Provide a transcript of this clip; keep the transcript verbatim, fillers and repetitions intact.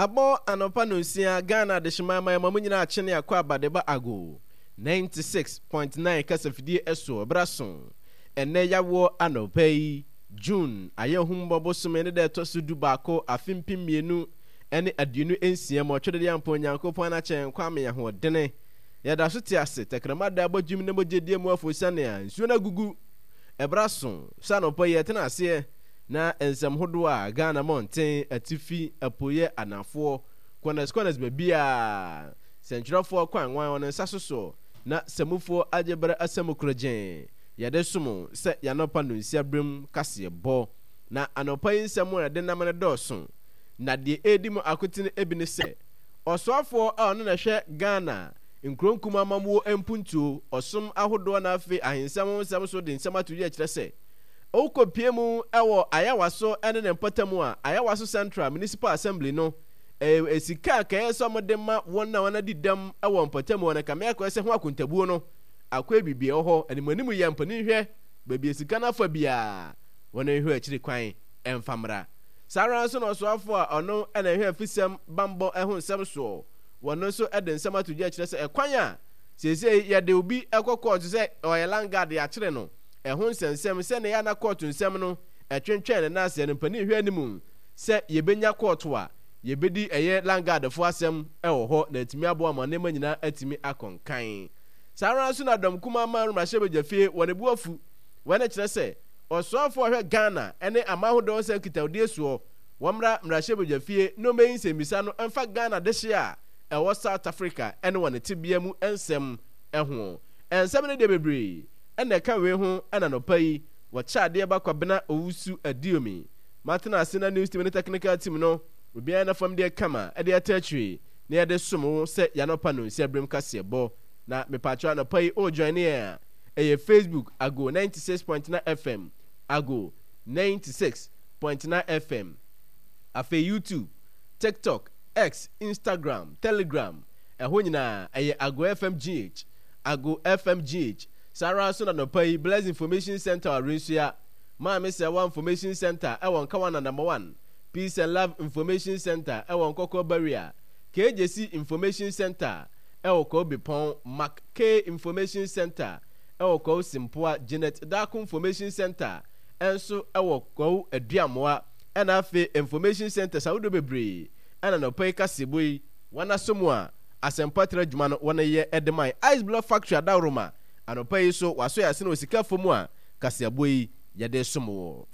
Abɔ anɔpa nonsia Ghana adehyema ma ɛma mo nyinaa akyene akɔ abadeba ago ninety-six point nine kasafidie ɛso ɛbra so. Ɛnɛ yawoɔ anɔpa yi, June ayɛ humbɔ bosome ne da ɛtɔ so du baako, afe mpem mmienu ɛne aduonu nsia mu. Ɔtwɛdeɛ ampɔ Onyankopɔn anakyɛn Kwame ahoɔdene, yɛda so te ase. Tɛkrɛma da abɔdwum ne mogyedie mu afo sɛnea nsuo no agugu ɛbra so sɛ anɔpa yi yɛtena aseɛ na nsɛm hodoɔ a Ghana mmɔnten, atifi, apueɛ, anafoɔ, corners corners, baabiaa sɛntwerɛfoɔ kɔ anwan wɔn nsa soso na sɛmufoɔ agye berɛ asɛm korɔgyee yɛde som sɛ yɛanɔpa nonsia berɛm kaseɛ bɔ. Na anɔpa yi nsɛm a yɛde nam no dɔɔso, na deɛ ɛredi mu akotene ebi ne sɛ ɔsoafoɔ a ɔno na ɛhwɛ Ghana nkuro nkuma amammuo mpuntuo, ɔsom ahodoɔ na afei ahensɛm ho nsɛm so de nsɛm ato dwa kyerɛ sɛ wokɔpie mu wɔ Ayawaso ne ne mpɔtam a Ayawaso Central Municipal Assembly no, ɛɛ sika a kɛyɛ sɛ wɔde ma wɔn a wɔn adi dɛm wɔ mpɔtam hɔ no, kame akɔyɛ sɛ ho akontabuo no akɔ biribi ɛwɔ hɔ anim anim yɛ mpanin hwɛ baabi sika no afa biara, wɔn nhwɛ akyiri kwan ɛmfa mmra. Saa ara nso na ɔsoafoɔ a ɔno ɛna ɛhwɛ afisɛm bambɔ ɛho nsɛm soɔ, wɔn nso de nsɛm ato dwa kyerɛ sɛ ɛkwan a seesei yɛde obi ɛkɔ kɔɔto sɛ ɔyɛ landguard yɛakyere no, ɛho nsɛnsɛm sɛnea ɛyɛ na kɔɔto nsɛm no ɛtwentwɛn ne nan aseɛ no, mpanin hwɛ anim sɛ yɛbɛnya kɔɔto a yɛbɛdi ɛyɛ landguardfoɔ asɛm ɛwɔ hɔ na atumi aboa ma nneɛma nyinaa atumi akɔnkan. Saa ara nso na dɔm kumaa man mmarahyɛbadwa fie wɔ ne bo afu wɔn kyerɛ sɛ ɔsoafoɔ a ɔhwɛ Ghana ne aman ahodoɔ nsɛm nkitahodie soɔ, wɔmmra mmarahyɛbadwa fie na ɔmmɛyi nsɛmmisa no mfa Ghana dehye a ɛwɔ South Africa ne wɔn tebea mu nsɛm ho. Nsɛm no deɛ bebree ɛna ɛka wei ho. Ɛna nɔpa yi wɔkyɛ adeɛ ba Kwabena Owusu Adiomi matena ase na news team ne technical team no obiara na fam deɛ kama ɛde ata akyire na yɛde som wo sɛ yɛanɔpa no nsia berem kaseɛ bɔ. Na mepatwa anɔpa yi o join yɛn a ɛyɛ Facebook Ago ninety-six point nine F M, Ago ninety-six point nine F M, afei YouTube, TikTok, X, Instagram, Telegram, ɛhɔ nyinaa ɛyɛ Ago F M G H, Ago F M G H. Saa ara nso na nɔpa yi Bless Information Center Ɔrensua, Maame Sɛwa Information Center ɛwɔ Nkawana Number one, Peace and Love Information Center ɛwɔ Nkɔkɔ Barrier, K J C Information Center ɛwɔ Kwawu Bepɔn, Mac K Information Center ɛwɔ Kwawu Simpoa, Janet Darko Information Center ɛnso ɛwɔ Kwawu Aduamoa, ɛna afei information centers ahodoɔ bebree ɛna nɔpa yi kaseɛbɔ yi wɔn aso mu a asɛmpatra adwuma no wɔn yɛ ɛde man Ice Block Factory adaworoma anɔpa yi so waso yɛ ase na wɔ sika fam a kaseɛbɔ yi yɛde som wɔ.